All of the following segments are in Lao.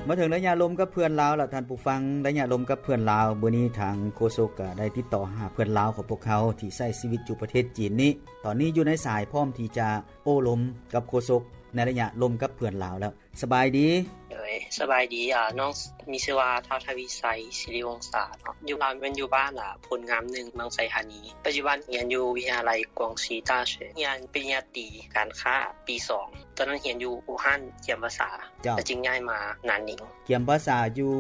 ມາເຖິງໄລຍະລົມກັບເພື່ອນລາວລະທ່ານຜູ້ຟັງ, ໄລຍະລົມກັບເພື່ອນລາວ. ມື້ນີ້ທາງໂຄສົກກໍໄດ້ຕິດຕໍ່ຫາເພື່ອນລາວຂອງພວກເຮົາທີ່ໃຊ້ຊີວິດຢູ່ປະເທດຈີນນີ້, ຕອນນີ້ຢູ່ໃນສາຍ ພ້ອມທີ່ຈະໂອ້ລົມກັບໂຄສົກໃນໄລຍະລົມກັບເພື່ອນລາວແລ້ວ. ສະບາຍດີ. ໂດຍ ສະບາຍດີ. ອາ ນ້ອງມີຊື່ວ່າ ທ້າວ ທະວີໄຊ ສິລິວົງສາເນາະ. ຢູ່ລາວແມ່ນຢູ່ບ້ານ ອາ ໂພນງາມໜຶ່ງ ເມືອງໄຊທານີ. ປັດຈຸບັນຮຽນຢູ່ວິທະຍາໄລກວງຊີຕ້າເຊີ ຮຽນປະລິນຍາຕີການຄ້າປີສອງ. ຕອນນັ້ນຮຽນຢູ່ອູ່ຮັ່ນ ກຽມປາສາ ແລ້ວຈຶ່ງຍ້າຍມານານນິງ. ກຽມປາສາຢູ່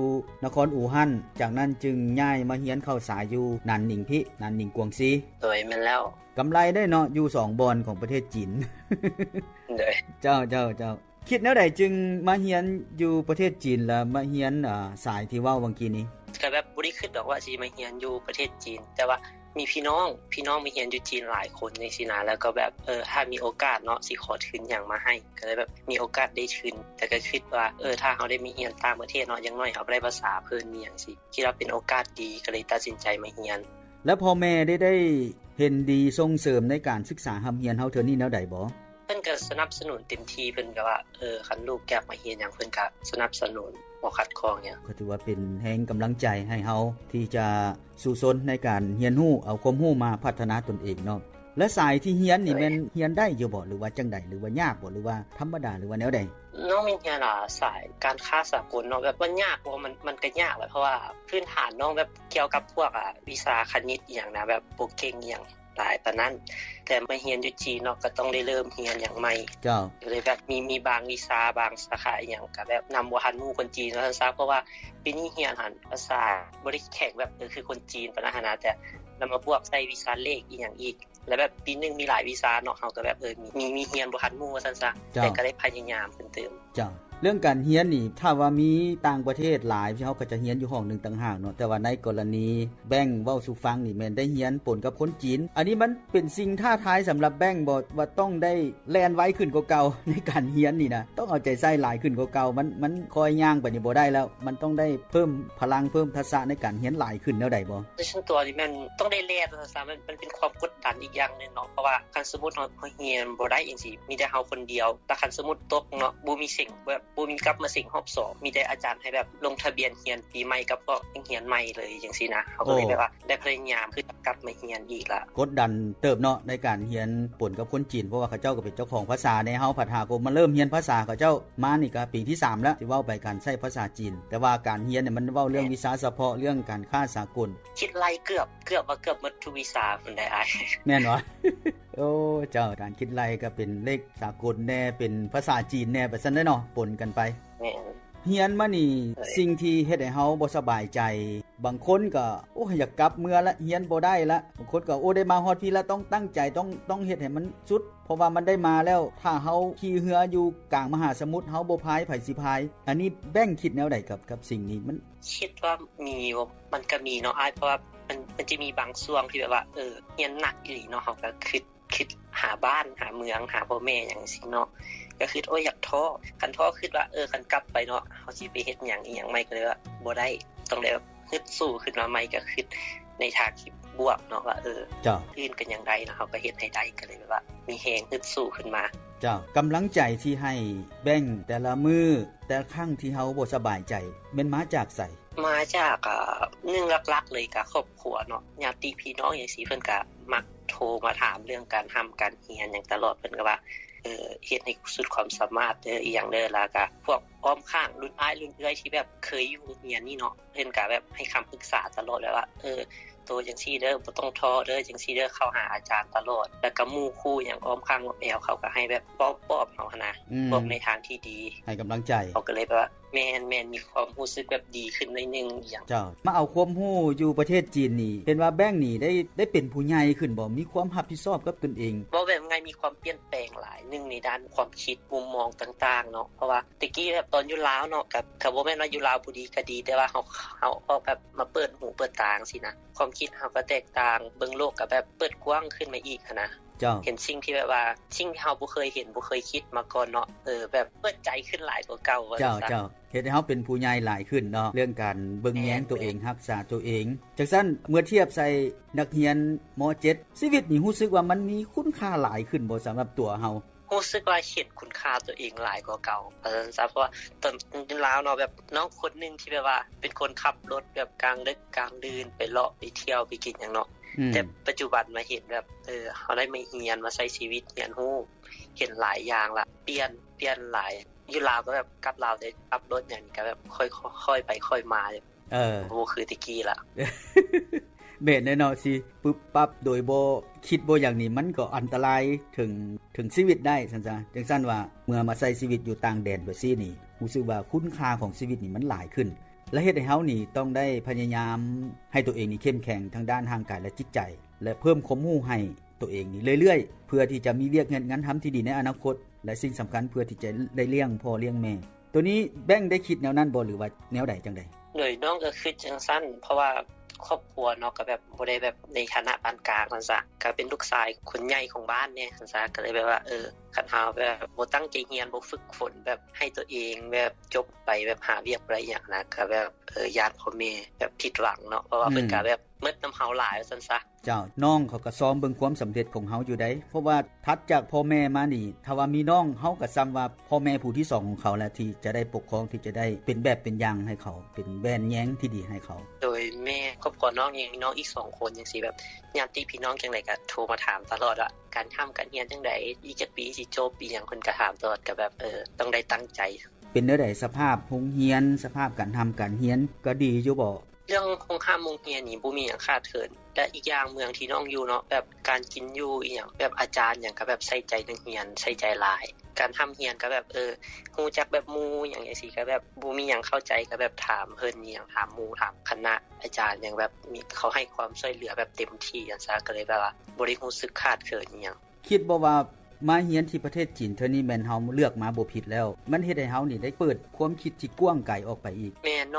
ນະຄອນອູ່ຮັ່ນ, ຈາກນັ້ນຈຶ່ງຍ້າຍມາຮຽນເຂົ້າສາຍຢູ່ນານນິງພີ້ ນານນິງກວງຊີ. ໂດຍ ແມ່ນແລ້ວ. ກຳໄລໄດ໋ເນາະ ຢູ່ສອງບ່ອນຂອງປະເທດຈີນ. ໂດຍ ເຈົ້າ ເຈົ້າ ເຈົ້າ. ຄິດແນວໃດຈຶ່ງມາຮຽນຢູ່ປະເທດຈີນ ແລະມາຮຽນ ອາ ສາຍທີ່ເວົ້າຫວ່າງກີ້ນີ້? ກໍແບບບໍ່ໄດ້ຄິດດອກວ່າຊິມາຮຽນຢູ່ປະເທດຈີນ, ແຕ່ວ່າມີພີ່ນ້ອງ ພີ່ນ້ອງມາຮຽນຢູ່ຈີນຫຼາຍຄົນຈັ່ງຊີ້ນະ, ແລ້ວກໍແບບ ເອີ ຖ້າມີໂອກາດເນາະ ຊິຂໍທຶນຫຍັງມາໃຫ້, ກໍເລີຍແບບມີໂອກາດໄດ້ທຶນ. ແຕ່ກໍຄິດວ່າ ເອີ ຖ້າເຮົາໄດ້ມາຮຽນຕ່າງປະເທດເນາະ ຢ່າງໜ້ອຍເຮົາກໍໄດ້ພາສາເພິ່ນ ມີຫຍັງຊີ້ ຄິດວ່າເປັນໂອກາດດີ ກໍເລີຍຕັດສິນໃຈມາຮຽນ. ແລ້ວພໍ່ແມ່ໄດ້ ໄດ້ເຫັນດີສົ່ງເສີມໃນການສຶກສາຮ່ຳຮຽນເຮົາເທື່ອນີ້ແນວໃດບໍ? ເພິ່ນກໍສະໜັບສະໜູນເຕັມທີ່, ເພິ່ນກໍວ່າ ເອີ ຄັນລູກຢາກມາຮຽນຫຍັງ ເພິ່ນກໍສະໜັບສະໜູນ ບໍ່ຂັດຂ້ອງຫຍັງ. ກໍຖືວ່າເປັນແຮງກຳລັງໃຈໃຫ້ເຮົາທີ່ຈະສູ້ຊົນໃນການຮຽນຮູ້ ເອົາຄວາມຮູ້ມາພັດທະນາຕົນເອງເນາະ. ແລະສາຍທີ່ຮຽນນີ້ແມ່ນຮຽນໄດ້ຢູ່ບໍ່ ຫຼືວ່າຈັ່ງໃດ ຫຼືວ່າຍາກບໍ່ ຫຼືວ່າທຳມະດາ ຫຼືວ່າແນວໃດ? ນ້ອງມີຮຽນ ອາ ສາຍການຄ້າສາກົນເນາະ, ແບບມັນຍາກບໍ່? ມັນ ມັນກໍຍາກແຫຼະ ເພາະວ່າພື້ນຖານນ້ອງແບບກ່ຽວກັບພວກ ອາ ວິຊາຄະນິດອີ່ຫຍັງນະ ແບບບໍ່ເກັ່ງອີ່ຫຍັງຫຼາຍປານນັ້ນ, ແຕ່ມາຮຽນຢູ່ຈີນເນາະ ກໍຕ້ອງໄດ້ເລີ່ມຮຽນຫຍັງໃໝ່. ເຈົ້າ. ກໍເລີຍແບບມີ ມີບາງວິຊາ ບາງສາຂາອີ່ຫຍັງ ກໍແບບນຳບໍ່ທັນໝູ່ຄົນຈີນວ່າຊັ້ນຊະ, ເພາະວ່າປີນີ້ຮຽນຫັ້ນພາສາບໍ່ໄດ້ແຂງແບບ ເອີ ຄືຄົນຈີນປານນັ້ນຫັ້ນນະ, ແຕ່ນຳມາບວກໃສ່ວິຊາເລກອີ່ຫຍັງອີກ. ແລ້ວແບບປີໜຶ່ງມີຫຼາຍວິຊາເນາະ, ເຮົາກໍແບບ ເອີ ມີ ມີຮຽນບໍ່ທັນໝູ່ວ່າຊັ້ນຊະ, ເຈົ້າ ແຕ່ກໍໄດ້ພະຍາຍາມເປັນຕື່ມ. ເຈົ້າ. ເລື່ອງການຮຽນນີ້ ຖ້າວ່າມີຕ່າງປະເທດຫຼາຍ ເຮົາກໍຈະຮຽນຢູ່ຫ້ອງໜຶ່ງຕ່າງຫາກເນາະ, ແຕ່ວ່າໃນກໍລະນີແບງເວົ້າສູ່ຟັງນີ້ ແມ່ນໄດ້ຮຽນປົນກັບຄົນຈີນ. ອັນນີ້ມັນເປັນສິ່ງທ້າທາຍສຳລັບແບງບໍ່ ວ່າຕ້ອງໄດ້ແລ່ນໄວຂຶ້ນກວ່າເກົ່າໃນການຮຽນນີ້ນະ, ຕ້ອງເອົາໃຈໃສ່ຫຼາຍຂຶ້ນກວ່າເກົ່າ, ມັນ ມັນຄ່ອຍຍ່າງໄປນີ້ບໍ່ໄດ້ແລ້ວ, ມັນຕ້ອງໄດ້ເພີ່ມພະລັງ ເພີ່ມທັກສະໃນການຮຽນຫຼາຍຂຶ້ນແນວໃດບໍ່? ໂດຍສ່ວນຕົວນີ້ແມ່ນຕ້ອງໄດ້ແລ່ນວ່າຊັ້ນຊະ, ມັນ ມັນເປັນຄວາມກົດດັນອີກຢ່າງໜຶ່ງເນາະ, ເພາະວ່າຄັນສົມມຸດເຮົາ ເຮົາຮຽນບໍ່ໄດ້ຈັ່ງຊີ້ ມີແຕ່ເຮົາຄົນດຽວ, ແລ້ວຄັນສົມມຸດຕົກເນາະ ບໍ່ມີເສັງ ແບບບໍ່ມີກັບມາເສັງຮອບສອງ, ມີແຕ່ອາຈານໃຫ້ແບບລົງທະບຽນຮຽນປີໃໝ່ກັບພວກນັກຮຽນໃໝ່ເລີຍຈັ່ງຊີ້ນະ, ເຮົາກໍເລີຍ ໂອ້ ແບບວ່າໄດ້ພະຍາຍາມຄືກັບມາຮຽນອີກລະ. ກົດດັນເຕີບເນາະໃນການຮຽນປົນກັບຄົນຈີນ, ເພາະວ່າເຂົາເຈົ້າກໍເປັນເຈົ້າຂອງພາສາແດ່, ເຮົາພັດຫາກໍມາເລີ່ມຮຽນພາສາເຂົາເຈົ້າມານີ້ກໍປີທີສາມແລ້ວ ທີ່ເວົ້າໄປການໃຊ້ພາສາຈີນ, ແຕ່ວ່າການຮຽນນີ້ມັນເວົ້າເລື່ອງ ແມ່ນ ວິຊາສະເພາະ ເລື່ອງການຄ້າສາກົນ. ຄິດໄລ່ເກືອບ ເກືອບວ່າເກືອບໝົດທຸກວິຊາພຸ້ນໃດ໋ອ້າຍ. ແມ່ນບໍ່? ໂອ້ ເຈົ້າ, ການຄິດໄລ່ກໍເປັນເລກສາກົນແດ່ ເປັນພາສາຈີນແດ່ ໄປຊັ້ນເດ້ເນາະ, ປົນກັນໄປ. ແມ່ນ. ຮຽນມານີ້ ເອີຍ ສິ່ງທີ່ເຮັດໃຫ້ເຮົາບໍ່ສະບາຍໃຈ, ບາງຄົນກໍ ໂອ້ ຢາກກັບເມືອລະ ຮຽນບໍ່ໄດ້ລະ, ບາງຄົນກໍ ໂອ້ ໄດ້ມາຮອດພີ້ລະ ຕ້ອງຕັ້ງໃຈ ຕ້ອງ ຕ້ອງເຮັດໃຫ້ມັນສຸດ ເພາະວ່າມັນໄດ້ມາແລ້ວ, ຖ້າເຮົາຂີ່ເຮືອຢູ່ກາງມະຫາສະໝຸດ ເຮົາບໍ່ພາຍ ໃຜຊິພາຍ? ອັນນີ້ແບງຄິດແນວໃດກັບ ກັບສິ່ງນີ້? ມັນ ຄິດວ່າມີຢູ່ ມັນກໍມີເນາະອ້າຍ, ເພາະວ່າມັນ ມັນຈະມີບາງຊ່ວງທີ່ແບບວ່າ ເອີ ຮຽນໜັກອີ່ຫຼີເນາະ, ເຮົາກໍຄິດ ຄິດຫາບ້ານ ຫາເມືອງ ຫາພໍ່ແມ່ຫຍັງຊີ້ເນາະ, ກໍຄິດ ໂອ້ຍ ຢາກທໍ້. ຄັນທໍ້ ຄິດວ່າ ເອີ ຄັນກັບໄປເນາະ ເຮົາຊິໄປເຮັດຫຍັງອີ່ຫຍັງໃໝ່, ກໍເລີຍວ່າບໍ່ໄດ້ ຕ້ອງໄດ້ແບບ ຮຶດສູ້ຂຶ້ນມາໃໝ່, ກໍຄິດໃນທາງທີ່ບວກເນາະ ວ່າ ເອີ ເຈົ້າ ອື່ນກໍຍັງໄດ້ເນາະ, ເຮົາກໍເຮັດໃຫ້ໄດ້, ກໍເລີຍແບບວ່າມີແຮງຮຶດສູ້ຂຶ້ນມາ. ເຈົ້າ, ກຳລັງໃຈທີ່ໃຫ້ແບງແຕ່ລະມື້ ແຕ່ລະຄັ້ງທີ່ເຮົາບໍ່ສະບາຍໃຈ ແມ່ນມາຈາກໃສ? ມາຈາກ ອາ ໜຶ່ງຫຼັກໆເລີຍກໍຄອບຄົວເນາະ, ຍາດຕິພີ່ນ້ອງຫຍັງຊີ້ ເພິ່ນກໍມັກໂທມາຖາມເລື່ອງການຮ່ຳການຮຽນຫຍັງຕະຫຼອດ, ເພິ່ນກໍວ່າ ເອີ ເຮັດໃຫ້ສຸດຄວາມສາມາດເດີ ອີ່ຫຍັງເດີ, ແລ້ວກໍພວກອ້ອມຂ້າງລຸ້ນອ້າຍລຸ້ນເອື້ອຍທີ່ແບບເຄີຍຢູ່ໂຮງຮຽນນີ້ເນາະ, ເພິ່ນກໍແບບໃຫ້ຄຳປຶກສາຕະຫຼອດ ແບບວ່າ ເອີ ໂຕຈັ່ງຊີ້ເດີ ບໍ່ຕ້ອງທໍ້ເດີ ຈັ່ງຊີ້ເດີ, ເຂົ້າຫາອາຈານຕະຫຼອດ, ແລ້ວກໍໝູ່ຄູ່ຫຍັງອ້ອມຂ້າງອ້ອມແອວ ເຂົາກໍໃຫ້ແບບເວົ້າປອບເຮົາຫັ້ນນະ, ອືມ ບອກໃນທາງທີ່ດີ ໃຫ້ກຳລັງໃຈ, ເຮົາກໍເລີຍແບບວ່າ ແມ່ນໆ ມີຄວາມຮູ້ສຶກແບບດີຂຶ້ນໜ້ອຍໜຶ່ງອີ່ຫຍັງ. ເຈົ້າ, ມາເອົາຄວາມຮູ້ຢູ່ປະເທດຈີນນີ້ ເຫັນວ່າແບງນີ້ໄດ້ ໄດ້ເປັນຜູ້ໃຫຍ່ຂຶ້ນບໍ່? ມີຄວາມຮັບຜິດຊອບກັບຕົນເອງ? ເວົ້າແບບງ່າຍ ມີຄວາມປ່ຽນແປງຫຼາຍໜຶ່ງໃນດ້ານຄວາມຄິດ ມຸມມອງຕ່າງໆເນາະ, ເພາະວ່າແຕ່ກີ້ແບບຕອນຢູ່ລາວເນາະ ກໍ ກໍບໍ່ແມ່ນວ່າຢູ່ລາວບໍ່ດີກໍດີ, ແຕ່ວ່າເຮົາ ເຮົາອອກແບບມາເປີດຫູເປີດຕາຈັ່ງຊີ້ນະ, ຄວາມຄິດເຮົາກໍແຕກຕ່າງ, ເບິ່ງໂລກກໍແບບເປີດກວ້າງຂຶ້ນມາອີກຫັ້ນນະ. ເຈົ້າ, ເຫັນສິ່ງທີ່ແບບວ່າ ສິ່ງທີ່ເຮົາບໍ່ເຄີຍເຫັນ ບໍ່ເຄີຍຄິດມາກ່ອນເນາະ, ເອີ ແບບເປີດໃຈຂຶ້ນຫຼາຍກວ່າເກົ່າວ່າຊັ້ນ. ເຈົ້າ ເຈົ້າ, ເຮັດໃຫ້ເຮົາເປັນຜູ້ໃຫຍ່ຫຼາຍຂຶ້ນເນາະ, ເລື່ອງການເບິ່ງແຍງ ແມ່ນ ຕົວເອງ ແມ່ນ ຮັກສາຕົວເອງ. ຈັ່ງຊັ້ນ ເມື່ອທຽບໃສ່ນັກຮຽນ ມໍເຈັດ ຊີວິດນີ້ ຮູ້ສຶກວ່າມັນມີຄຸນຄ່າຫຼາຍຂຶ້ນບໍ່ ສຳລັບຕົວເຮົາ? ຮູ້ສຶກວ່າເຫັນຄຸນຄ່າໂຕເອງຫຼາຍກວ່າເກົ່າ ວ່າຊັ້ນຊະ. ເພາະວ່າຕອນຢູ່ລາວເນາະ ແບບນ້ອງຄົນໜຶ່ງທີ່ແບບວ່າເປັນຄົນຂັບລົດແບບກາງດຶກກາງດື່ນ ໄປເລາະໄປທ່ຽວໄປກິນຫຍັງເນາະ ອືມ ແຕ່ປັດຈຸບັນມາເຫັນແບບ ເອີ ເຮົາໄດ້ມາຮຽນ ມາໃຊ້ຊີວິດ ຮຽນຮູ້ ເຫັນຫຼາຍຢ່າງລະ ປ່ຽນ ປ່ຽນຫຼາຍ. ຢູ່ລາວກໍແບບກັບລາວໄດ້ຂັບລົດຫຍັງນີ້ກໍແບບຄ່ອຍ ຄ່ອຍໄປຄ່ອຍມາ ເອີ ບໍ່ຄືແຕ່ກີ້ລະ. ແມ່ນແຫຼະເນາະ ຊິປຶບປັບໂດຍບໍ່ຄິດບໍ່ຫຍັງນີ້ ມັນກໍອັນຕະລາຍເຖິງ ເຖິງຊີວິດໄດ້ຊັ້ນຊະ. ຈັ່ງຊັ້ນວ່າເມື່ອມາໃຊ້ຊີວິດຢູ່ຕ່າງແດນແບບຊີ້ນີ້ ຮູ້ສຶກວ່າຄຸນຄ່າຂອງຊີວິດນີ້ມັນຫຼາຍຂຶ້ນ ແລະ ເຮັດໃຫ້ເຮົານີ້ຕ້ອງໄດ້ພະຍາຍາມໃຫ້ໂຕເອງນີ້ເຂັ້ມແຂງທາງດ້ານຮ່າງກາຍ ແລະ ຈິດໃຈ ແລະ ເພີ່ມຄວາມຮູ້ໃຫ້ໂຕເອງນີ້ເລື້ອຍໆ ເພື່ອທີ່ຈະມີວຽກເຮັດງານທຳທີ່ດີໃນອະນາຄົດ ແລະ ສິ່ງສຳຄັນເພື່ອທີ່ຈະໄດ້ລ້ຽງພໍ່ລ້ຽງແມ່. ໂຕນີ້ແບງໄດ້ຄິດແນວນັ້ນບໍ່ ຫຼືວ່າແນວໃດຈັ່ງໃດ? ໂດຍ ນ້ອງກໍຄິດຈັ່ງຊັ້ນ ເພາະວ່າຄອບຄົວເນາະ ກໍແບບບໍ່ໄດ້ແບບໃນຖານະປານກາງຊັ້ນຊະ ກໍເປັນລູກຊາຍຄົນໃຫຍ່ຂອງບ້ານແດ່ຊັ້ນຊະ ກໍເລີຍແບບວ່າ ເອີ ຄັນເຮົາແບບບໍ່ຕັ້ງໃຈຮຽນ ບໍ່ຝຶກຝົນ ແບບໃຫ້ໂຕເອງແບບຈົບໄປ ແບບຫາວຽກບໍ່ໄດ້ຫຍັງນະ ກໍແບບ ເອີ ຢ້ານພໍ່ແມ່ແບບຜິດຫວັງເນາະ ເພາະວ່າເພິ່ນ ອືມ ກໍແບບໝົດນຳເຮົາຫຼາຍວ່າຊັ້ນຊະ. ເຈົ້າ ນ້ອງເຂົາກໍຊອມເບິ່ງຄວາມສຳເລັດຂອງເຮົາຢູ່ໃດ ເພາະວ່າຖັດຈາກພໍ່ແມ່ມານີ້ ຖ້າວ່າມີນ້ອງ ເຮົາກໍສ່ຳວ່າພໍ່ແມ່ຜູ້ທີສອງຂອງເຂົາແຫຼະ ທີ່ຈະໄດ້ປົກຄອງ ທີ່ຈະໄດ້ເປັນແບບເປັນຢ່າງໃຫ້ເຂົາ ເປັນແວ່ນແຍງທີ່ດີໃຫ້ເຂົາ. ໂດຍ ແມ່ ຄອບຄົວນ້ອງຍັງມີນ້ອງອີກສອງຄົນຈັ່ງຊີ້ ແບບຍາດຕິພີ່ນ້ອງຈັ່ງໃດກໍໂທມາຖາມຕະຫຼອດວ່າ ການຮ່ຳການຮຽນຈັ່ງໃດ ອີກຈັກປີຊິຈົບ ອີຫຍັງ ເພິ່ນກໍຖາມຕະຫຼອດ ກໍແບບ ເອີ ຕ້ອງໄດ້ຕັ້ງໃຈ. ເປັນແນວໃດສະພາບໂຮງຮຽນ ສະພາບການຮ່ຳການຮຽນ ກໍດີຢູ່ບໍ່? ເລື່ອງໂຮງຮ່ຳໂຮງຮຽນນີ້ບໍ່ມີຫຍັງຂາດເຂີນ ແລະ ອີກຢ່າງເມືອງທີ່ນ້ອງຢູ່ເນາະ ແບບການກິນຢູ່ອີຫຍັງ ແບບອາຈານຫຍັງກໍແບບໃສ່ໃຈນັກຮຽນ ໃສ່ໃຈຫຼາຍ ການຮ່ຳຮຽນກໍແບບ ເອີ ຮູ້ຈັກແບບໝູ່ຫຍັງຈັ່ງຊີ້ ກໍແບບບໍ່ມີຫຍັງເຂົ້າໃຈກໍແບບຖາມເພິ່ນອີຫຍັງ ຖາມໝູ່ ຖາມຄະນະອາຈານຫຍັງ ແບບມີ ເຂົາໃຫ້ຄວາມຊ່ວຍເຫຼືອແບບເຕັມທີ່ຊັ້ນຊະ ກໍເລີຍແບບວ່າບໍ່ໄດ້ຮູ້ສຶກຂາດເຂີນອີຫຍັງ. ຄິດບໍ່ວ່າມາຮຽນທີ່ປະເທດຈີນເທື່ອນີ້ແມ່ນເຮົາເລືອກມາບໍ່ຜິດແລ້ວ ມັນເຮັດໃຫ້ເຮົານີ້ໄດ້ເປີດຄວາມຄິດທີ່ກວ້າງໄກອອກໄປອີກ. ແມ່ນ